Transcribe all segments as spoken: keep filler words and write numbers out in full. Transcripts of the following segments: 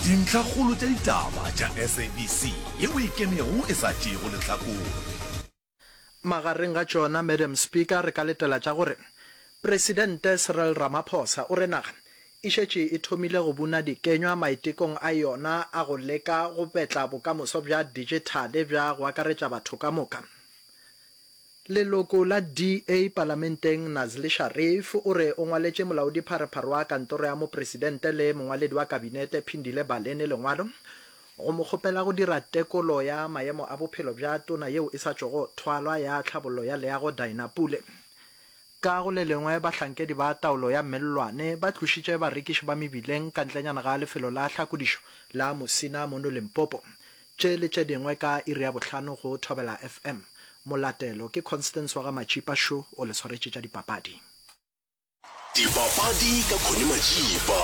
Dintlhakgolo tša ditaba tša S A B C yeo e ikemego e sa tšeego lehlakore. Magareng ga tšona, Madam Speaker, re ka letela tša gore Presidente Cyril Ramaphosa o re naga e šetše e thomile go buna dikenywa maitekong a yona a go leka go betla bokamoso bja dijithale bja go akaretša batho ka moka. Leloko la D A Palamenteng Nazli Sharif o re o ngwaletše molaodipharephare wa kantoro ya mopresidente le mongwaledi wa kabinete Phindile Baleni lengwalo go mo kgopela go dira tekolo ya maemo a bophelo bja tona yeo e sa tšwago thwalwa ya tlhabollo ya leago Dina Pule. Ka go le lengwe bahlankedi ba taolo ya mellwane ba tlošitše barekiši ba mebileng ka ntlenyana ga lefelo la hlakodišo la Musina mono Limpopo. Tše le tše dingwe ka iri ya bohlano go Thobela F M. Molatelo ke Constance wa ga Matšipa šo o le swaretše tša dipapadi. Dipapadi ka Connie Majiba,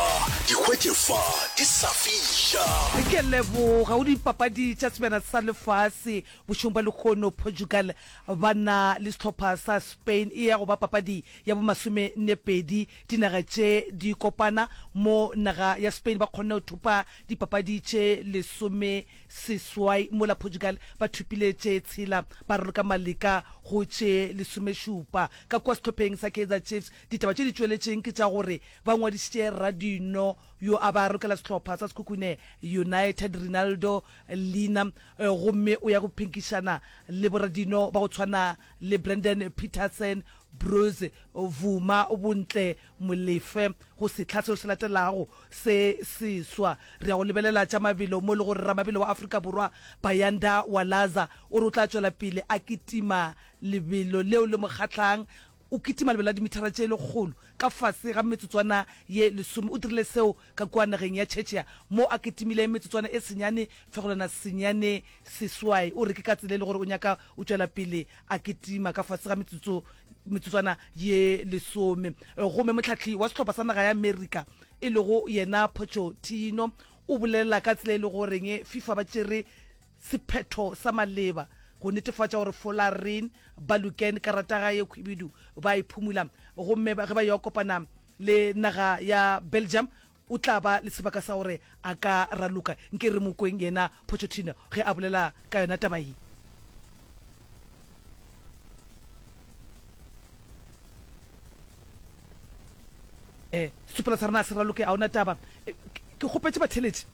di hwetše fa di sa fiša. Ke leboga go dipapadi tša Sebjana sa Lefase bošegong bja lehono. Portugal ba na le sehlopha sa Spain, e ya go ba papadi ya bo masome nne pedi dinaga tše di kopana, mo naga ya Spain ba kgonne go thopa dipapadi tše lesome seswai mola Portugal ba thopile tše tshela, ba raloka maleka go tše lesomešupa. Ka kua sehlopheng sa Kaizer Chiefs ditaba tše di tšweletšeng ke tša gore ba ngwadišitše radino yo a ba rokela sehlopha sa Sekhukhune United Rinaldo Leaner, gomme o ya go phenkišana le boradino ba go tshwana le Brandon Petersen, Bruce Bvuma, Bontle Molefe go sehla seo se latelago se seswa. Re ya go lebelela tša mabelo mo e le gore ramabelo wa Afrika Borwa Bayanda Walaza o re o tla tšwela pele a kitima lebelo leo le mo kgahlang. O kitima lebelo la dimithara tše lekgolo ka fase ga metsotswana ye lesome. O dirile seo ka kua nageng ya Czechia mo a kitimile metsotswana e senyane fegolwana senyane seswai. O re ke ka tsela e le gore o nyaka o tšwela pele a kitima ka fase ga metsotso metsotswana ye lesome. Gomme mohlahli wa sehlopha sa naga ya Amerika e lego yena Pochettino o bolela ka tsela e le goreng FIFA ba tšere sephetho sa maleba go netefatša gore Folarin Balogun karata ga ye khwibidu ba e phumula, gomme ge ba yo kopana le naga ya Belgium o tla ba le sebaka sa gore a ka raloka. Nke re mo kweng yena Pochettino ge a bolela ka yona taba ye. Setsopolwa sa rena a se raloke, ga o na taba. Ke kgopetše batheeletši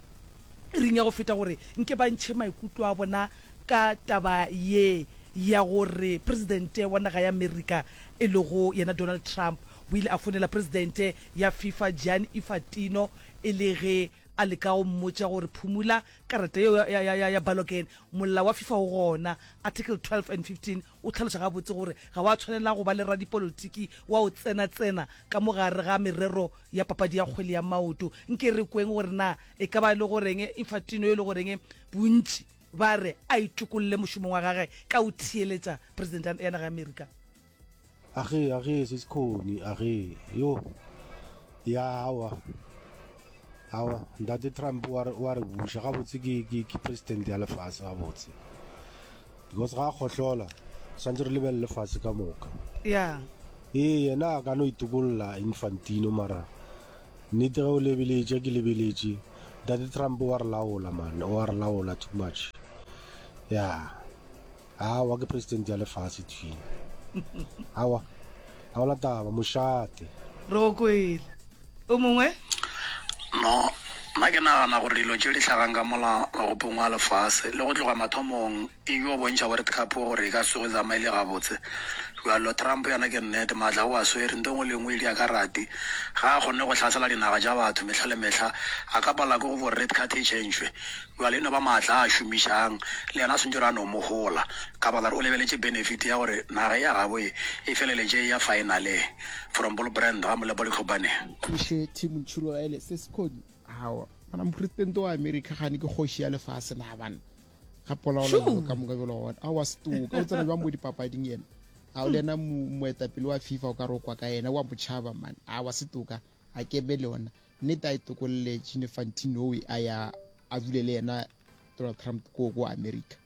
iring ya go feta gore nke ba ntšhe maikutlo a bona ka taba ye ya gore Presidente wa naga ya Amerika e lego yena Donald Trump o ile a founela Presidente ya FIFA Gianni Infantino e le ge a leka go mmotša gore phumula karata yeo ya, ya, ya, ya Balogun. Molao wa FIFA o gona, Article twelve and fifteen o hlaloša gabotse gore ga wa tshwanela go ba le radipolotiki wa go tsena-tsena ka mo gare ga merero ya papadi ya kgwele ya maoto. Nke re kweng gore na e ka ba e le goreng Infantino yo e le goreng bontši ba re a itokolle mošomong wa gage ka go theeletša Presidente ya naga ya Amerika. Age, age, sesikhoni, age, yo. Ya, aowa. Aowa, Ntate Trump wa re, wa re buša, gabotse ke, ke, ke president ya lefase gabotse. Because ga a kgohlola, swantse re lebelele lefase ka moka. Ya. Ee, yena a ka no itokolla Infantino, mara nnete ge o lebeletše, ke lebeletše, Ntate Trump wa re laola man, wa re laola too much. Ya. Aowa, ke president ya lefase thwi. Aowa, ga gona taba, mošate. Re go kwele. O mongwe? No, nna ke nagana gore dilo tše di hlagang ka mola mogopong wa lefase le go tloga mathomong e yo bontšha World Cup gore e ka se tsoge e tsamaile gabotse. Bjalo Trump yena ke nnete, maatla o a swere, nto engwe le engwe e dia ka rati. Ga a kgone go hlasela dinaga tša batho mehla le mehla, a ka palelwa ke go gore red card e tšhentšhwe. Bjale e no ba maatla a a šomišang, le yena a swantše gore a no mo hola, ka baka la gore o lebeletše benefit ya gore naga ya gabo e e feleletše e ya finaleng. From Bull Brand, ga Molepo Letlhopane. Moshe Tim Ntšholoele se sekhoni awa bana mopresidente wa America gane ke kgoši ya lefase na bana ga polaola dilo ka moka bjalo gona awa setoka o tsena jwang mo dipapading yena ga o le yena moetapele wa FIFA o ka re o kwa ka yena wa motšhaba man awa setoka a kebe le ona nnete a e tokolle Gianni Infantino a ya a dule le yena Donald Trump ko ko America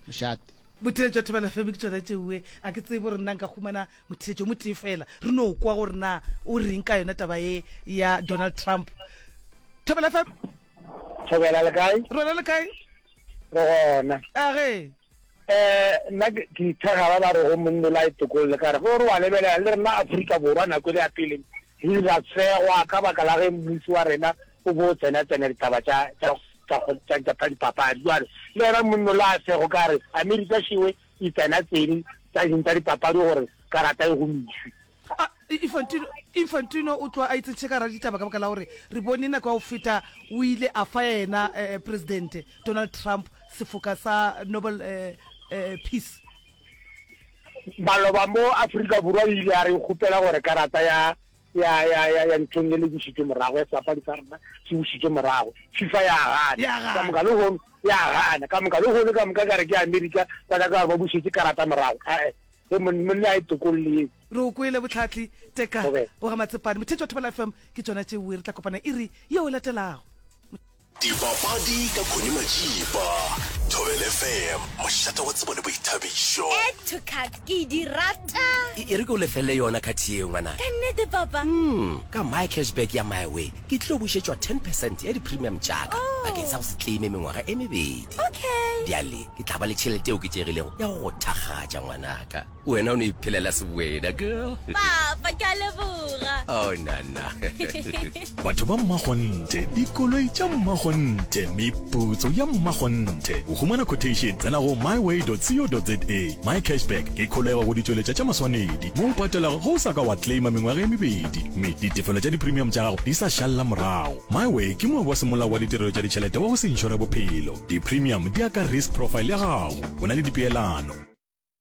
mošate. Botheletšo Thobela F M ke tšona tšeoe. A ke tsebe gore nna nka humana motheletšo mo tee fela re no kwa gore na o reng ka yona taba ye ya Donald Trump. Thobela F M. Thobela le kae? Rona le kae? Re gona. A ge. Eh nna ke ithega ba ba rego monno la itokolle ka re ge o re wa lebelela le rena Afrika Borwa nako e le ya pele re ile ra segwa ka baka la ge mmušo wa rena o bo o tsena tsena ditaba tša tša tša tša dipapadi jwale le yena monno la sego ka re Amerika šewe e tsena tsene tša ding tša dipapadi gore karata e gomišwe. A, Infantino, Infantino o tloga a itsentšhe ka gare ga ditaba ka baka la gore re bone nako ya go feta o ile a fa yena eh, Presidente Donald Trump sefoka sa Nobel eh, eh, Peace. Maloba mo Afrika Borwa e ile ya re kgopela gore karata ya ya ya ya ya nthong e le bušitšwe morago ya sebapadi sa rena se bušitšwe morago. FIFA ya gana. Ya gana. Ka moka lehono ya gana. Ka moka lehono ka moka ka re ke Amerika ba nyaka gore ba bušetše karata morago. Ae, ge monna a e tokolle ye. Re o kwele Bohlatli Teka Thobela. wa ga Matsepane. Motheetši wa Thobela F M, ke tšona tšeo re tla kopana iri yeo e latelago. Dipapadi ka Connie Majiba. Thobela F M, mošate wa tsebo le boithabišo. Add to cart, ke di rata. E, e re ke o lefelle yona card yeo, ngwanaka. Ka nnete, papa? Mm, ka My Cashback ya MiWay, ke tlilo bušetšwa ten percent ya di-premium tša ka Oh. bakeng sa go se claime mengwaga e mebedi. Okay. Bjale ke tla ba le tšhelete e oketšegilego ya go go thakgatša, ngwanaka. Wena o no iphelela sewena, girl. Papa, ke a leboga. Oh, nana. Batho ba mmakgonthe, dikoloi tša mmakgonthe, meputso ya mmakgonthe. Go humana quotation, tsena go myway dot co dot za. My Cashback ke kholego go ditšweletša tša maswanedi mo o patelago ge o sa ka wa claima mengwaga e mebedi mme ditefelo tša di-premium tša gago di sa šalla morago. MyWay ke moabi wa semolao wa ditirelo tša ditšhelete wa go se inšore bophelo. Di-premium di ya ka risk profile ya gago. Go na le dipeelano.